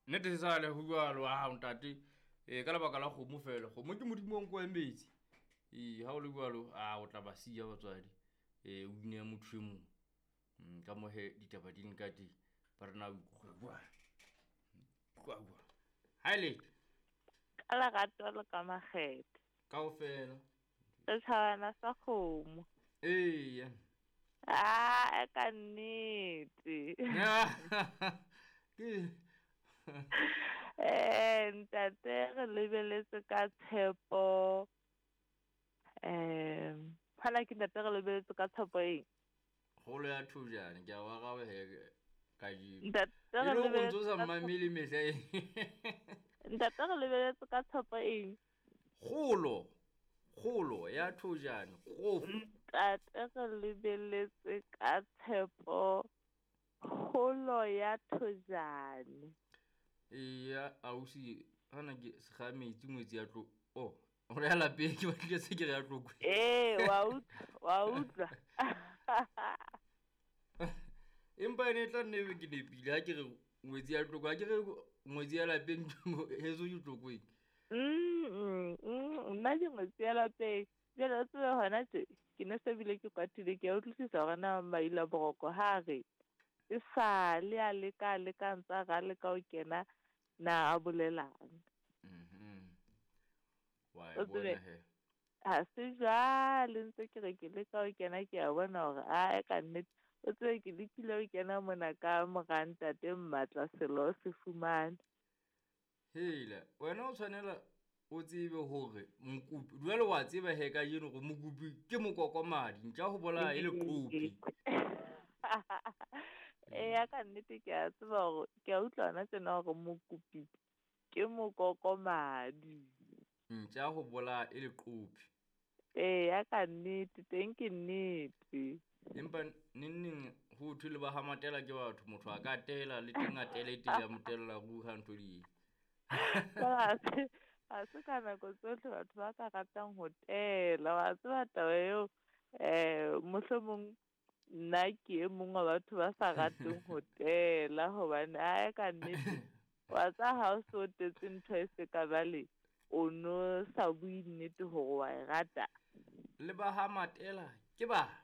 Nnete se sale go jalo a ntate ee ka lebaka la kgomo fela kgomo ke modimo wa nko ya metsi ee ga o le jalo a o tla ba siya batswadi ee o inea motho e mongwe ka mo he ditaba di leng ka teng ba rena utlwa utlwa ha e letho Ka lerato le ka makgethe. Kaofela. Setjhabana sa kgomo. Eya. Ah, ka nnete. Ke Ntate re lebeletse ka tshepo. Hana ke ntate re lebeletse ka tshepo eng? Kgolo ya thojane ke a wa gawe he kajeno. Ntate E re le go lebeletse ntse o sa ka mmamele mehla e. Ntate re lebeletse ka tshepo eng? Kgolo. Kgolo ya thojane. Kgofu. Ntate re lebeletse ka tshepo kgolo ya thojane. Eya ausi hana ke sega metsi ngwetsi ya tlo oh gore ya lapeng ke batlile se ke re ya tlokwe. Ee, wa utlwa, wa utlwa. Empa ene e tla nne ebe ke nepile ha ke re ngwetsi ya tlokwe ha ke re ngwetsi ya lapeng heso ke tlokweng. Nna ke ngwetsi ya lapeng. Jwale o tsebe hona tje ke ne se bile ke kwatile ke a utlwisisa hore na Maila Boroko ha re e sale a leka a leka ntse a re a leka ho kena na a bolelang. Wa e O tsebe, bona he. Ha se jwale ntse ke re ke leka ho kena ke a bona hore ae ka nnete. O tsebe ke lekile ho kena mona ka mora ntate Mmatla selo se fumane. Hela, wena o tshwanela o tsebe hore mokopi, jwale wa tseba he kajeno hore mokopi ke mokokomadi, ntja ho bolaya e le qopi. Eya ka nnete ke a tseba hore, ke a utlwa hona tjena hore mokopi ke mokokomadi. Ntja ho bolaya e le qopi. Eya ka nnete, teng ke nnete. Empa neng ho thwe le ba ha Matela ke batho, motho a ka tela le teng a tele tele a motella ruri ha ntho di. Ha se ka nako tsohle batho ba ka ratang ho tela, wa tseba taba eo, mohlomong nna ke e mong wa batho ba sa rateng ho tela hobane ae ka nnete, wa tseba ha o so tetse ntho e se ka jwale, o no sa bue nnete hore wa e rata. Le ba ha Matela ke batho.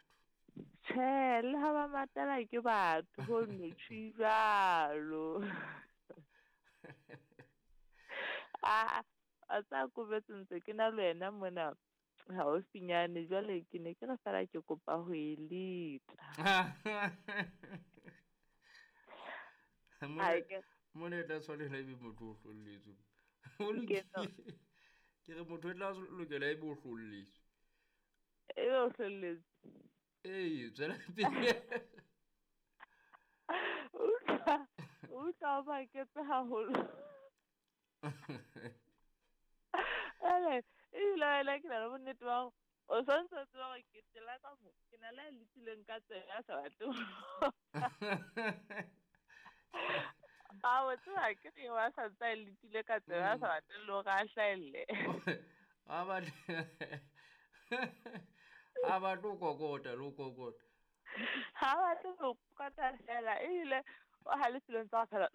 Tjhe, le ha ba Matela ke batho, ho no tjho jwalo. A tsa kobetse ntse ke na le wena mona haufinyane, jwale ke ne ke re fela ke kopa ho e leta. Mona e tla tshwanela ebe motho o hlolletswe. O Ke lokile. no. Ke re motho o tla lokela ebe o hlolletswe. Ebe o hlolletswe. Ee, tswela pele. Utlwa o maketse haholo. Ele, ebile wena ke na le bonnete ba hore o santse o tseba hore ke tela ka mo, ke na le a letileng ka tsebe a sa batle ho. A o tseba ke re wa sa ntse a letile ka tsebe a sa batle le hore a hlahelle. A batle, a batle ho kokota le ho kokota. Ha batle ho kokota fela, ebile o halefile ntse a fela,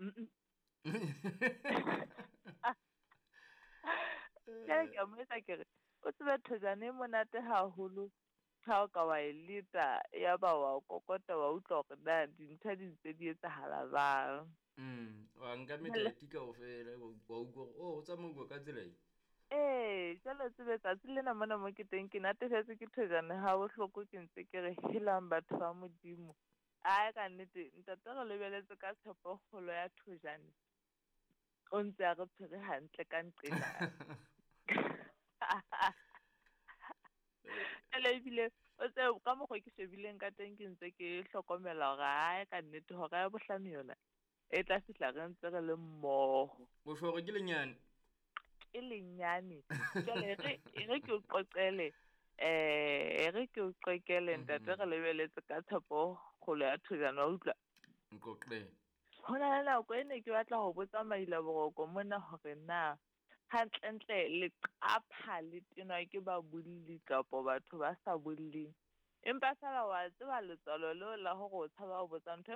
Jwale ke a mo etsa ke re, o tsebe thojane e monate haholo ha o ka wa e leta, ya ba wa kokota, wa utlwa hore na dintho di ntse di etsahala jwang. Wa nka metati kaofela, wa utlwa hore, oh, ho tsamauwa ka tsela e. Ee, jwale o tsebe tsatsi lena mona mo ke teng, ke natefetswe ke thojane ha bohloko, ke ntse ke re helang batho ba Modimo. Ae ka nnete, ntate re lebeletse ka tshepo kgolo ya thojane. O ntse a re tshwere hantle ka nqena. Ele ebile o tsebe ka mokgwa ke shebileng ka teng, ke ntse ke hlokomela hore ae ka nnete hora ya bohlano yona e tla fihla re ntse re le mmoho. O tjho hore ke lenyane? Ke lenyane. Jwale e re ke o qoqele, e re ke o qoqele ntate, re lebeletse ka tshepo kgolo ya thojane, wa utlwa? Nqoqele. Ho na le nako e ne ke batla ho botsa Maila Boroko mona hore na hantlentle leqapha le tenwa ke babolli kapa batho ba sa bolleng. Empa feela wa tseba letswalo leo la hore o tshaba ho botsa ntho.